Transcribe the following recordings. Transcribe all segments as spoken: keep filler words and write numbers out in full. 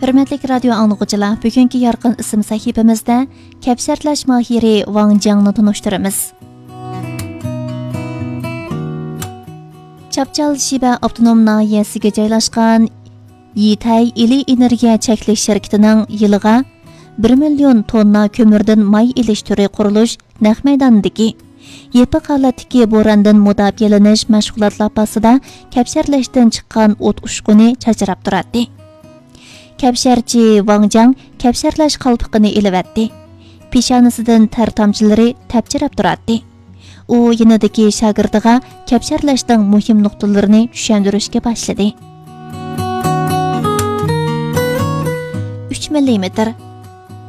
ھۆرمەتلىك رادىيو ئاڭلىغۇچىلار، بۈگۈنكى يارقىن ئىسىم سەھىپىمىزدە كەپشەرلەش ماھىرى ۋاڭ جياڭنى تونۇشتۇرىمىز. چاپچال شىبە ئاپتونوم ناھىيەسىگە جايلاشقان يىتەي ئىلى ئېنېرگىيە چەكلىك شىركىتىنىڭ يىلىغا بىر مىليون توننا كۆمۈردىن ماي ئېلىش تۈرى قۇرۇلۇش نەق مەيدانىدىكى يېپىق ھالەتتىكى بوراندىن مۇداپىئەلىنىش مەشغۇلات لاپاسىدا كەپشەرلەشتىن چىققان ئوت ئۇچقۇنى چاچراپ تۇراتتى. كەپشەرچى ۋاڭ جياڭ كەپشەرلەش قالپىقىنى ئېلىۋەتتى. پېشانىسىدىن تەر تامچىلىرى تەپچىرەپ تۇراتتى. ئۇ يېنىدىكى شاگىرتىغا كەپشەرلەشنىڭ مۇھىم نۇقتىلىرىنى چۈشەندۈرۈشكە باشلىدى. ئۈچ مىللىمېتىر.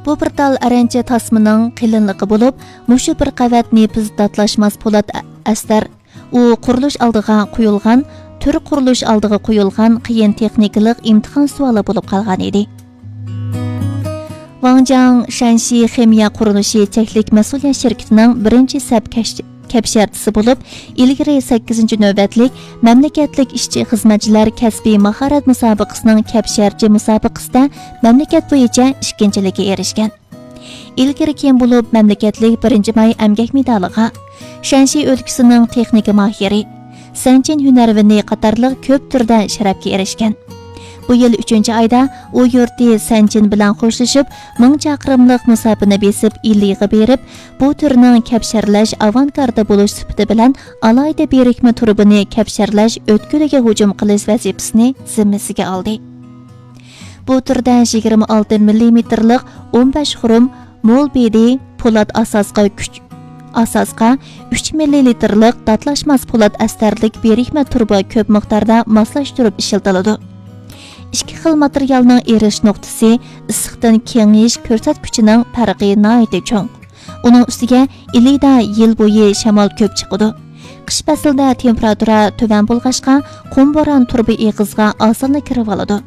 بۇ بىر تال ئەرەنچە تاسمىنىڭ قېلىنلىقى بولۇپ، مۇشۇ بىر قەۋەت نېپىز داتلاشماس پولات ئە-، ئەستەر. ئۇ قۇرۇلۇش ئالدىغا قويۇلغان، تۈر قۇرۇلۇش ئالدىغا قويۇلغان قىيىن تېخنىكىلىق ئىمتىھان سوئالى بولۇپ قالغان ئىدى. ۋاڭ جياڭ شەنشى خىمىيە قۇرۇلۇشى چەكلىك مەسئۇلىيەت شىركىتىنىڭ بىرىنچى سەپ كەش-، كەپشەرچىسى بولۇپ، ئىلگىرى سەككىزىنچى نۆۋەتلىك مەملىكەتلىك ئىشچى خىزمەتچىلەر كەسپىي ماھارەت مۇسابىقىسىنىڭ كەپشەرچى مۇسابىقىسىدە مەملىكەت بويىچە ئىككىنچىلىككە ئېرىشكەن. ئىلگىرى كېيىن بولۇپ مەملىكەتلىك بىرىنچى ماي ئەمگەك مېدالىغا، شەنشى ئۆلكىسىنىڭ تېخنىكا ماھىرى، سەنچىن ھۈنەرۋېنى قاتارلىق كۆپ تۈردە شەرەپكە ئېرىشكەن. بۇ يىل ئۈچىنچى ئايدا ئۇ يۇرتى سەنچىن بىلەن خوشلىشىپ، مىڭ چاقىرىملىق مۇساپىنى بېسىپ ئىلىغا بېرىپ، بۇ تۈرنىڭ كەپشەرلەش ئاۋانگاردى بولۇش سۈپىتى بىلەن ئالاھىدە بىرىكمە تۇرۇبىنى كەپشەرلەش ئۆتكىلىگە ھۇجۇم قىلىش ۋەزىپىسىنى زىممىسىگە ئالدى. بۇ تۈردە يىگىرمە ئالتە مىللىمېتىرلىق ئون بەش خۇرۇم مول بىدى پولات ئاساسقا كۈچ، ئاساسقا ئۈچ مىللىلىتىرلىق داتلاشماس پولات ئەستەرلىك بىرىكمە تۇرۇبا كۆپ مىقداردا ماسلاشتۇرۇپ ئىشلىتىلىدۇ. ئىككى خىل ماتېرىيالنىڭ ئېرىش نۇقتىسى، ئىسسىقتىن كېڭىيىش كۆرسەتكۈچىنىڭ پەرقى ناھايىتى چوڭ. ئۇنىڭ ئۈستىگە ئىلىدا يىل بويى شامال كۆپ چىقىدۇ. قىش پەسلىدە تېمپېراتۇرا تۆۋەن بولغاچقا، قۇم بوران تۇرۇبا ئېغىزىغا ئاسانلا كىرىۋالىدۇ.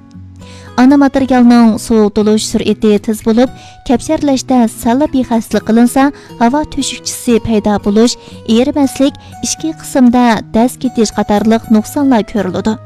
ئانا ماتېرىيالنىڭ سوۋۇتۇلۇش سۈرئىتى تېز بولۇپ، كەپشەرلەشتە سەللا بىخەستىلىك قىلىنسا، ھاۋا تۆشۈكچىسى پەيدا بولۇش، ئېرىمەسلىك، ئىچكى قىسىمدا دەز كېتىش قاتارلىق نۇقسانلار كۆرۈلىدۇ.